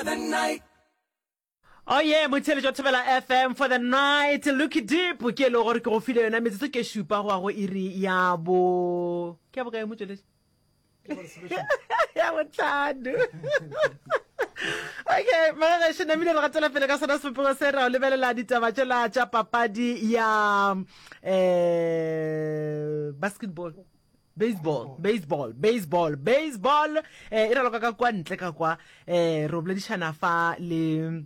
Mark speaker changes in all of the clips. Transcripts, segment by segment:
Speaker 1: the night.
Speaker 2: Oh yeah, motheletši wa Thobela FM for the night. Lucky Deep ke e le gore ke go file yona metsotso ke šupa go ya go iri ya bo ke ya bokae motšweletši? Ya botlhano. Okay, magagešo namile re gatela pele ka sona sebopego se ra o lebelela ditaba tšela tša papadi ya eh basketball. Baseball, baseball, baseball, baseball eh, e raloka ka kwa ntle ka kwa eh, re boledišana fa le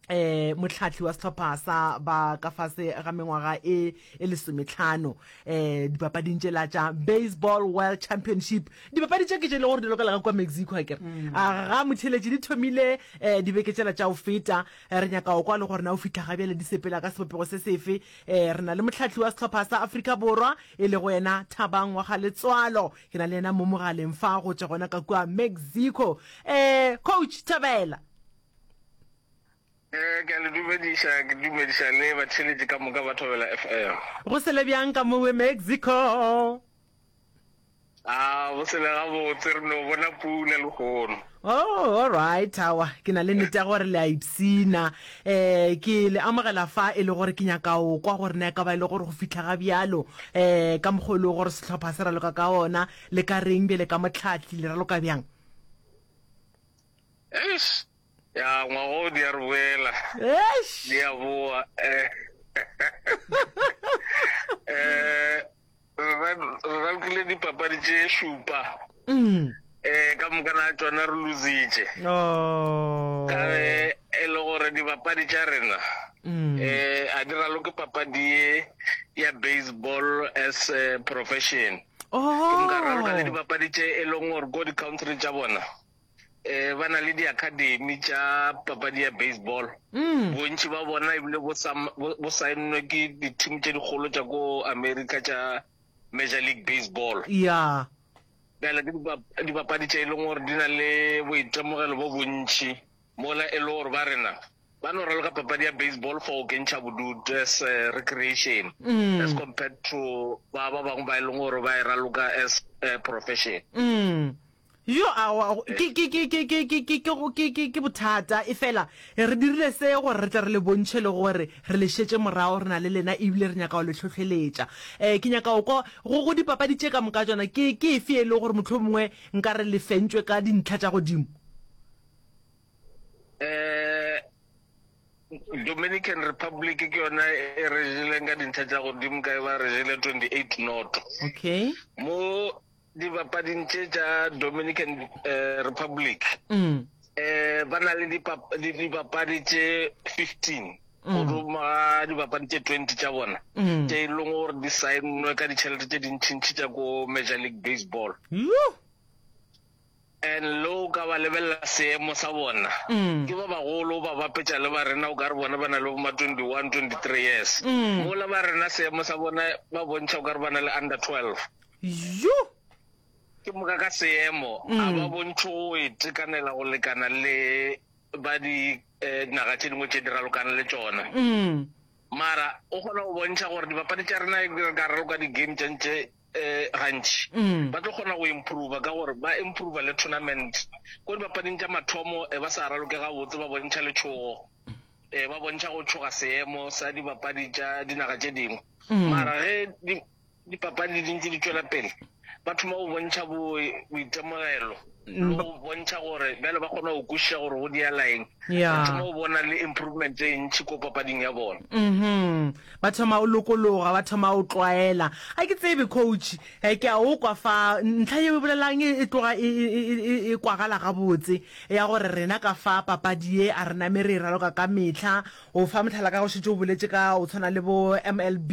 Speaker 2: eh motlhatlhi wa sehlopha sa ba ka fase ga mengwaga e e lesometlhano eh dipapading tšela tša baseball world championship dipapadi tše ke tše e le gore di lokela ka kwa mexico a kere mm. a ga motheletši di thomile eh dibeke tšela tša go feta eh, re nyaka go kwa le gore na o fihla ga bjale di sepela ka sebopego se sefe eh re na le motlhatlhi wa sehlopha sa Afrika Borwa e lego yena Thabang wa ga Letswalo. Ke na le yena mo mogaleng fa go tšwa gona ka kua Mexico. Eh, Coach Thabela.
Speaker 3: Eh, ke a le dumediša, ke dumediša le batheeletši ka moka ba Thobela FM.
Speaker 2: Go sele bjang ka mowe Mexico?
Speaker 3: A bo sele gabotse, re no bona pula lehono.
Speaker 2: Oh, all right, awa, ke na le nnete ya gore le a ipshina. Eh, ke le amogela fa e le gore ke nyaka o kwa gore na e ka ba e le gore go fihla ga bjalo, eh, ka mokgwa o e lego gore sehlopha se raloka ka ona, le ka reng bjale ka mohlahli, le raloka bjang?
Speaker 3: Eish, ya ngwaga o di a re boela.
Speaker 2: Eish!
Speaker 3: Di a boa. Eh, eh, Re ralokile dipapadi tše šupa.
Speaker 2: Mm.
Speaker 3: Eh, ka moka na tšona re lositše.
Speaker 2: Oh.
Speaker 3: Ka ge e le gore dibapadi tša rena
Speaker 2: mm.
Speaker 3: eh a di raloke papadi ye ya baseball as a profession.
Speaker 2: Oh.
Speaker 3: Ke moka raloka le dibapadi tše e leng gore ko di-country tša bona eh ba na le di-academy tša papadi ya baseball
Speaker 2: mm.
Speaker 3: bontši ba bona ebile bo saennwe ke di-team tše dikgolo tša ko america tša major league baseball
Speaker 2: ya
Speaker 3: bjale ke dipapadi tše e leng gore di na le boitemogelo bo bontši mola e le gore ba rena ba no raloka papadi ya baseball for go kentšha bodutu as eh, recreation
Speaker 2: mm.
Speaker 3: as compared to ba ba bangwe ba e leng gore ba e raloka as eh, profession
Speaker 2: mm. Jo, aowa, ke, ke, ke, ke, ke, ke, ke, ke, ke, ke, ke bothata. Efela, re dirile se gore re tle re le bontšhe le gore re le šetše morago, re na le lena ebile re nyaka go le hlohleletša. Um ke nyaka go kwa, go, go dipapadi tše ka moka tšona, ke, ke efe e le gore mohlomongwe nka re le fentšwe ka dintlha tša godimo?
Speaker 3: Um Dominican Republic ke yona e re jeleng ka dintlha tša godimo ka e ba re jele 28 noto.
Speaker 2: Okay.
Speaker 3: Mo Dibapading tše tša Dominican eh, Republic
Speaker 2: mm.
Speaker 3: eh, ba na le dibapadi tše 15 mm. godimo ga dibapadi tše 20 tša bona
Speaker 2: mm.
Speaker 3: tše e leng gore di saennwe ka ditšhelete tše dintšhintšhi tša ko Major League Baseball. And le o ka ba lebelela seemo sa bona
Speaker 2: mm.
Speaker 3: ke ba bagolo ba bapetša le ba rena o ka re bona ba na le boma 21 23 years
Speaker 2: mm.
Speaker 3: mola ba rena seemo sa bona ba bontšha o ka re ba na le under 12
Speaker 2: Yo!
Speaker 3: Ke moka ka seemo, a ba bontšhe go itekanela go lekana le ba di naga tše dingwe tše di ralokang le tšona. Mara o kgona go bontšha gore dibapadi tša rena re ka raloka di-game tša ntše gantši, ba tlo kgona go improva ka gore ba improva le tournament. Ko dibapading tša mathomo e ba sa raloke gabotse, ba bontšha letšhogo, ba bontšha go tšhoga seemo sa dibapadi tša dinaga tše dingwe. Mara ge Dipapadi di ntše di tšwela pele, ba thoma go bontšha boitemogelo le go bontšha gore bjale ba kgona go kwešiša gore go diala eng.
Speaker 2: Ba
Speaker 3: thoma go bona le improvement e ntši ko papading ya bona.
Speaker 2: Mhm. Ba thoma go lokologa, ba thoma go tlwaela. Ga ke tsebe coach, eh, ke a o kwa fa ntlha yeo e bolelang e, e tloga e, e, e, e, e kwagala gabotse ya gore rena ka fa papadi ye a re name re e raloka ka mehla. O fa mohlala ka go šetše o boletše ka o tshwana le bo MLB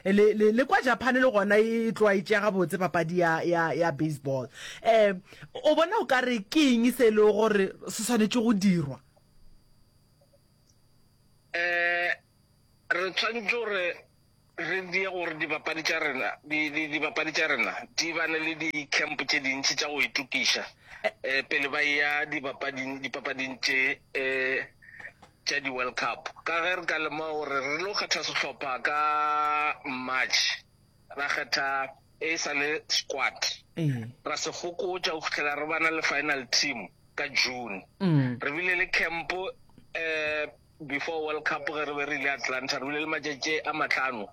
Speaker 2: le, le, le kwa Japan le gona e tloga e tšea gabotse papadi ya, ya, ya baseball. Um o bona o ka re ke eng se e lego gore se swanetše go dirwa?
Speaker 3: Um re tshwanetše gore re die gore dibapadi tša rena, di, di, dibapadi tša rena di bane le di-camp tše dintši tša go itokiša um pele ba eya dibapading, dipapading tše um tša di-World Cup. Ka ge re ka lemoga gore re lo kgetha sehlopha ka March, ra kgetha e sa le squad, ra se fokotša go fihlela re bana le final team. ka June. Re bile le camp um before World Cup ge re be re ile Atlanta, re bile le matšatši a matlhano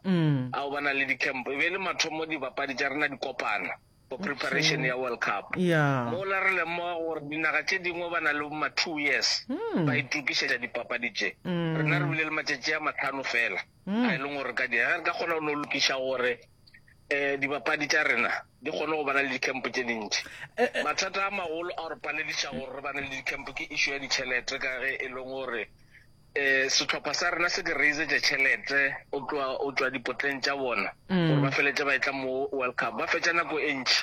Speaker 3: a go bana le di-camp. E be e le mathomo dibapadi tša rena di kopana for preparation ya World Cup. Mola re lemoga gore dinaga tše dingwe ba na le ma 2 years ba itokišetša dipapadi tše. Rena re bile le matšatši a matlhano fela a e leng gore re ka dira. Ge re ka kgona go no lokiša gore um dibapadi tša rena di kgone go bana le di-camp tše dintši. Mathata a magolo a re palediša gore re bane le di-camp ke issue ya ditšhelete ka ge e leng gore um sehlopha sa rena se ke raisetša tšhelete o tloga o tšwa dipotleng tša bona gore ba feletše ba etla mo World Cup. Ba fetša nako e ntši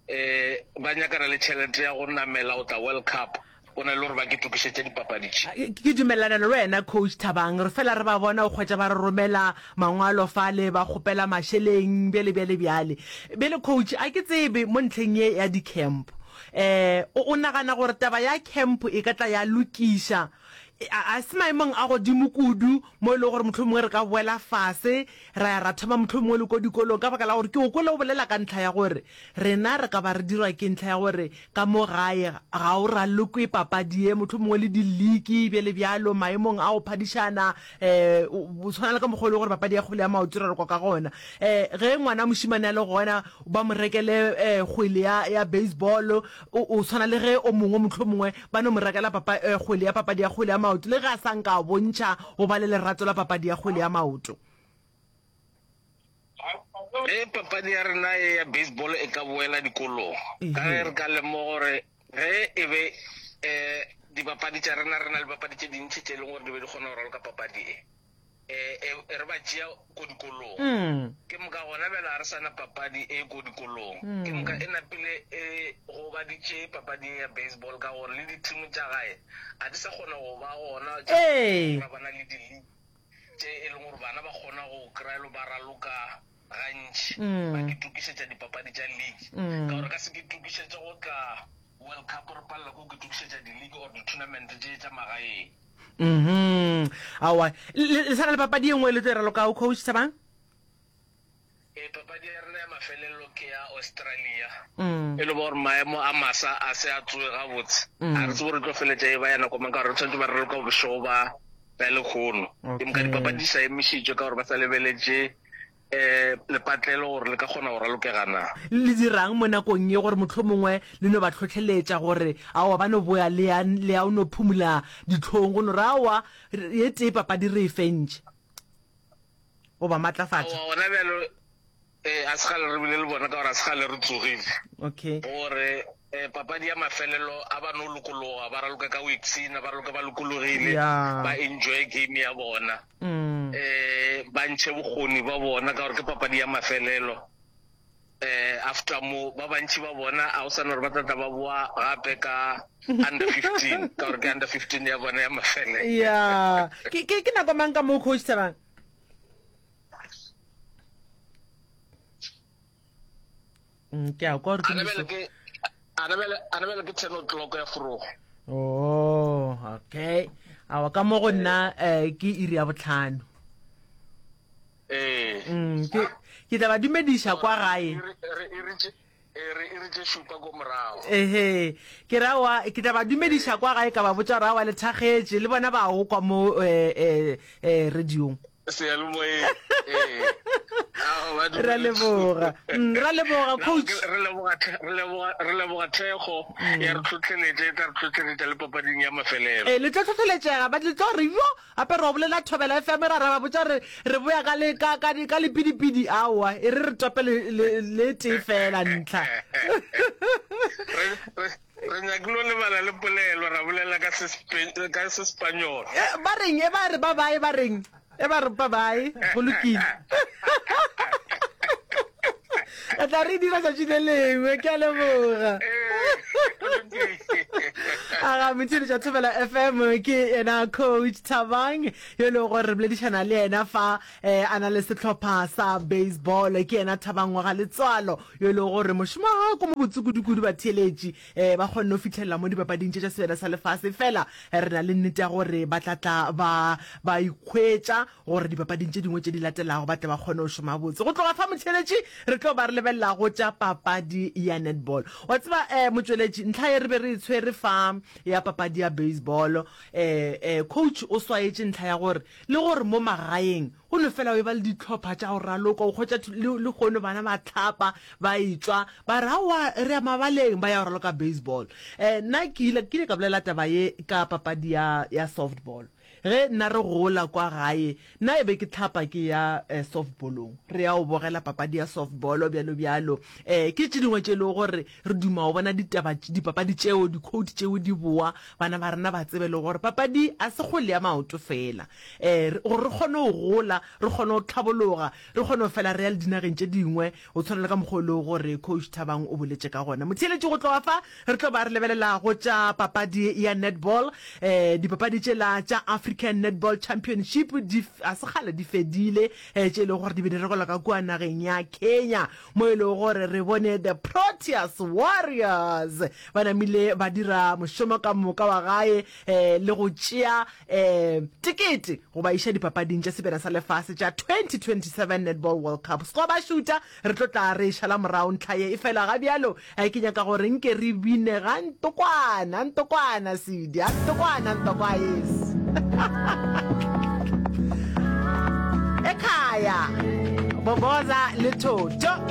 Speaker 3: um ba nyakana le tšhelete ya go namela go tla World Cup go na le gore ba ke tokišetše dipapadi tše.
Speaker 2: Ke dumelelana le wena Coach Thabang, re fela re ba bona o kgwetša ba re romela mangwalo fale ba kgopela mašeleng bjale bjale bjale. Bjale Coach a ke tsebe mo ntlheng ye ya di camp um o nagana gore taba ya camp e ka tla ya lokiša a se maemong a godimo kudu mo e lego gore mohlomongwe re ka boela fase ra ya ra thoma mohlomongwe le ko dikolong ka baka la gore ke o kwele o bolela ka ntlha ya gore rena re ka ba re dirwa ke ntlha ya gore ka mo gae ga o ralokwe papadi ye mohlomongwe le diliki bjale bjalo maemong a go phadišana um o tshwana le ka mokgwa o le gore papadi ya kgwele ya maoto re rekwa ka gona um ge ngwana mošemane a le gona ba mo rekele um kgwele ya, ya baseball o, o tshwana le ge o mongwe mohlomongwe ba no mo rekela papa, eh, kgwele ya papadi ya kgwele ya maoto le ge a sa nka a bontšha go ba le lerato la papadi ya kgwele ya maoto.
Speaker 3: Ge papadi ya rena ye ya baseball e ka boela dikolong, ka ge re ka lemoga gore ge e be um dibapadi tša rena, re na le dibapadi tše dintši tše e leng gore di be di kgona go raloka papadi e, um e re ba tšea ko dikolong. Ke moka gona bjale ga re sa na papadi e ko dikolong. Ke moka e napile e gobaditše papadi ye ya baseball ka gore le di-team tša gae ga di sa kgona go ba gona tša ra ba na le di-league tše e leng gore bana ba kgona go kry-a ba raloka gantši ba ke tokišetša dipapadi tša league ka gore ka se ke tokišetše go tla World Cup re palela ko ke tokišetša di-league or di-tournament tše tša magaeng.
Speaker 2: Mhm. Aowa, le sa na le papadi e nngwe le tlo e ralokago, Coach Thabang?
Speaker 3: Ee, papadi ya rena ya mafelelo ke ya Australia. E le gore maemo a masa a se a tsoge gabotse. A re tsebe gore tlo feletša e ba ya nako mang ka gore re tshwanetse ba raloka bošego ba ba lekgono. Ke moka dipapadi di sa emišitšwe ka gore ba sa lebeletše um lepatlelo gore le ka kgona go ralokega na.
Speaker 2: Le dirang mo nakong ye gore mohlomongwe le no ba hlohleletša gore aowa ba no boya le ya le ya o no phumula dihlong go no re aowa ye tee papadi re e fentše go ba matlafatša?
Speaker 3: Aowa gona bjalo ee a se kgale re bile le bona ka gore a se kgale re tsogile.
Speaker 2: Okay.
Speaker 3: Gore eh, papadi ya mafelelo a ba no lokologa ba raloka ka go ipshina ba raloka ba lokologile ba enjoy game ya bona. um ba ntšhe bokgoni ba bona ka gore ke papadi ya mafelelo um after mo ba bantši ba bona a o sana gore ba tlatla ba boa gape ka under 15 ka gore ke under 15 ya bona ya mafelelo
Speaker 2: ya ke ke ke nako mang ka mo coach Thabang mm, ke a kwa gore
Speaker 3: ke Anabele ke 10 o'clock ya forogo.
Speaker 2: Oh, okay. Awa ka mo go nna eh, ke iri ya botlhano.
Speaker 3: Ee.
Speaker 2: Mm, ke ke tla ba dumediša kwa gae.
Speaker 3: Re re iri tše šupa ko morago.
Speaker 2: Ehe. Ke ra wa ke tla ba dumediša kwa gae ka ba botša gore awa le thakgetše le bona ba go kwa mo eh eh eh radiong.
Speaker 3: Seyalemoyeng ee.
Speaker 2: Ra leboga. Mm, ra leboga coach.
Speaker 3: Re leboga re leboga re leboga thekgo mm. ya re tlhotlheletša e tla re tlhotlheletša le papading ya mafelelo.
Speaker 2: Eh le tlo tlhotlheletšega ba le tlo re yo gape re bolela Thobela FM ra ra ba botša re re boya ka le ka ka ka lepidipidi aowa e re re tope le le tee fela ntlha.
Speaker 3: Re nyakile lebala le polelo ra bolela ka ka Sespanyola.
Speaker 2: Eh, ba reng e ba re ba bae ba reng e ba re ba bae go lokile. Re tla re dira tšatši le lengwe ke a leboga. Aga motheeletša Thobela FM ke yena coach Thabang yo e lego gore re boledišana le yena fa eh, a na le sehlopha sa baseball ke yena Thabang wa ga Letswalo yo e lego gore mošomo wa gagwe ko mo botse kudu-kudu batheeletši um ba kgonne go fihlelela mo dipapading tše tša Sebjana sa Lefase fela re na le nnete ya gore ba tla tla ba ba ikhwetša gore dipapading tše dingwe tše di latelago ba tle ba kgone go šoma botse. Go tloga fa motheeletši re tlo ba re lebelela go tša papadi ya netball. Wa tseba um motšweletši ntlha ye re be re e tshwere fa um. ya papadi ya baseball. Eh, eh, coach o swaetše ntlha ya gore le gore mo magaeng go no fela o eba le dihlopha tša go raloka, o hwetša le lehono bana ba hlapa, ba etšwa, ba re aowa re ya mabaleng ba ya go raloka baseball. Eh, nna ke ile, ke ile ka bolela taba ye ka papadi ya, ya softball. Ge nna re gola kwa gae, nna e be ke hlapa ke ya softballong, re ya go bogela papadi ya softball bjalo bjalo. Eh, ke tše dingwe tše e lego gore re duma go bona ditaba, dipapadi tšeo, di-quote tšeo di boa, bana ba rena ba tsebe le gore papadi a se kgwele ya maoto feela. Eh, gore re kgone go gola, re kgone go tlhabologa, re kgone go fela re ya le dinageng tše dingwe, go tshwana le ka mokgwa o lego gore Coach Thabang o boletše ka gona. Motheeletši, go tloga fa re tlo ba re lebelela go tša papadi ya netball. Eh, dipapadi tšela tša African Netball Championship di, ga se kgale di fedile, eh, tše e lego gore di be di rekelwa ka kua nageng ya Kenya, mo e lego gore re bone the Proteas Warriors ba namile ba dira mošomo ka moka wa gae, eh, le go tšea eh, tekete go ba iša dipapading tša Sebjana sa Lefase tša 2027 Netball World Cup. Sco ba šuta, re tlo tla re e šala morago ntlha ye. Efela ga bjalo eh, ke nyaka gore nke re bine ga ntokwana, ntokwana, Sidi, a ntokwana, ntokwa yes. Ekhaya, Boboza le Thotho.